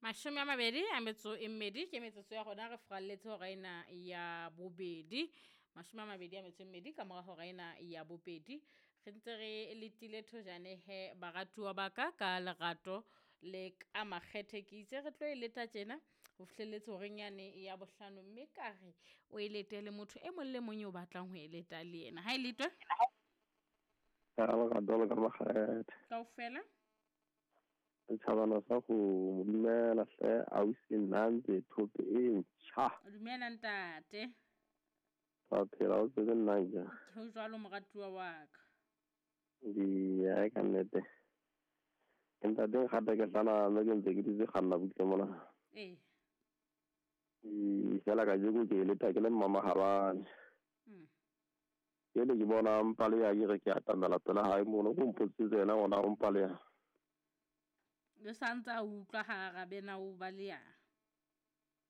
22 ke metsotso ya rona, re furalletse hora ena ya bobedi. 22 ka mora hora ena ya bobedi. Re ntse re letile thojane he baratuwa ba ka ka lerato le ka makgethe. Ke itse re tlo e leta tjena ho fihlelletse horeng yane ya bohlano, mme ka re o e lete le motho e mong le mong eo batlang ho e leta le yena. Ha e letwe Ka lerato le ka makgethe. Kaofela. Setjhabana sa go dumela hle ausi nna ntse thope e ntjha. Dumela ntate. Wa phela o tsebe nna ja. Ho jwalo moratuwa wa ka. Di ya ka nnete. Ke ntate nkgata ke hlana mme ke ntse ke dutse kganna butle mona. Ee. Fela kajeko ke leta ke le mmamahabane. Jwale ke bona mpaleha ke re ke atamela pela hae mono, ko mpotsitse yena ona o mpaleha. Le sa ntse a utlwa ha arabena o baleha.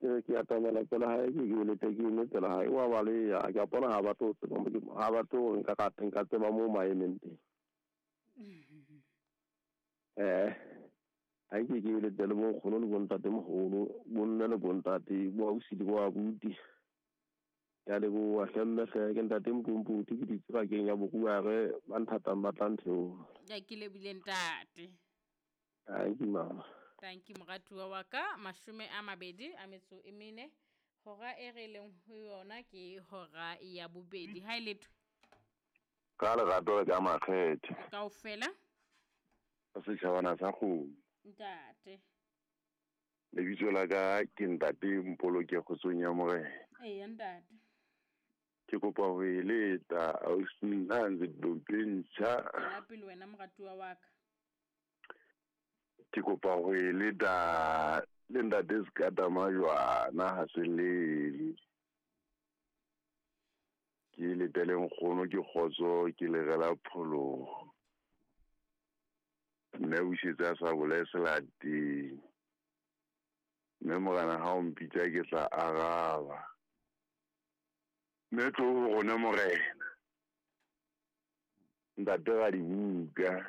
Ke re ke atamela pela hae, ke ke lete ke eme pela hae, wa baleha. Ke a bona ha batle ho tseba mo ke, ha batle hore nka rata nka tseba moo maemeng teng. Ha nke ke lete le bonkgono le bontatemoholo, bomme le bontate, bo ausi le bo abuti. Ke a leboha hle mme hle, ke ntate Mpomputi, ke dutse bakeng ya Boruare, ba nthatang ba tla ntheoha. Ya ke lebile ntate. Thank you mama. Thank you moratuwa wa ka. 24 hora e re leng ho yona ke hora ya bobedi. Ha e letho. Ka lerato le ka makgethe. Kaofela. Setjhabana sa kgomo. Ntate. Lebitso la ka ke ntate Mpoloke kgotsong ya Morena. Eya ntate. Ke kopa ho e leta ausi nna ntse dope ntjha. Tswela pele wena moratuwa wa ka. Ke kopa ho e leta le ntate Sekata Majwana ha se lele. Ke letele nkgono ke kgotso ke lerela pholoho. Mme o setse a sa bolae selateng. Mme morena ha o mpitsa ke tla araba. Mme tlo ho rona morena. Ntate ra dibuka.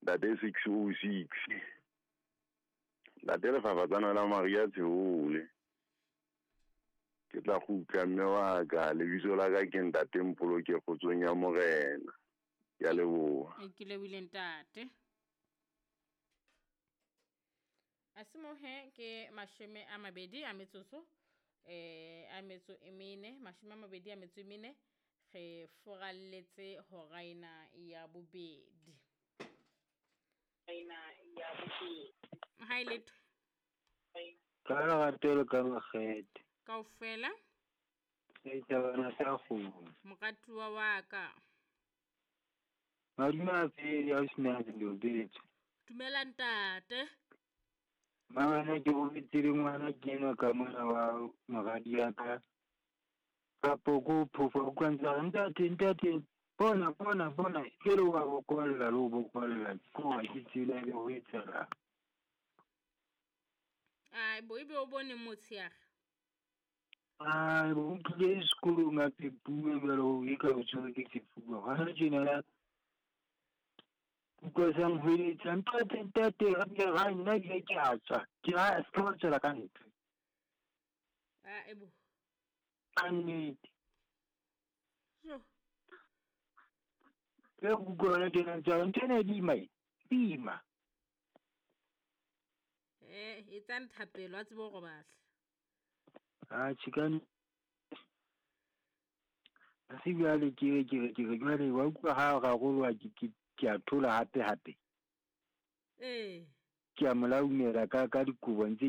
Ntate 606. Ntate lefafatsana la Maria Tsheole. Ke tla kgutla mme wa ka, lebitso la ka ke ntate Mpoloke kgotsong ya Morena. Ke a leboha. Ke lebohile ntate. A se mohe ke 24 a metsotso, a metso e mene, 24, re furalletse hora ena ya bobedi. Ha e letho. Ka lerato le ka makgethe. Kaofela. Setjhabana sa kgomo. Moratuwa wa ka. Madume a pele ausi nna ntse lobetse. Dumela ntate. Mabane ke robetse le ngwana ke enwa ka mona wa moradi ya ka. Kapo ko phofa o utlwa ntse a re ntate ntate bona bona bona ke le wa bokolla le ho bokolla ke hore ke tsela le ho etsahala. Ai bo ebe o bone motsheare. Ai bo o tlile sekolong a pepuwe jwale ho e ka o tshwerwe ke sefuba. Hona tjena ya utlwa sa nhweletsa ntate ntate ra nna ebile ke a tswa. Ke ra se ka wa tswela ka ntle. Ai bo. Ka nnete. Jo. Ke utlwa hona tjena ntse a re ntho ena e boima e, boima. Etsang thapelo a tsebe ho robala. Atjhe ka ha se jwale ke re ke re ke re jwale wa utlwa ha raroloha ke ke a thola hape hape. Ee. Ke a molaumela ka ka dikobo ntse ke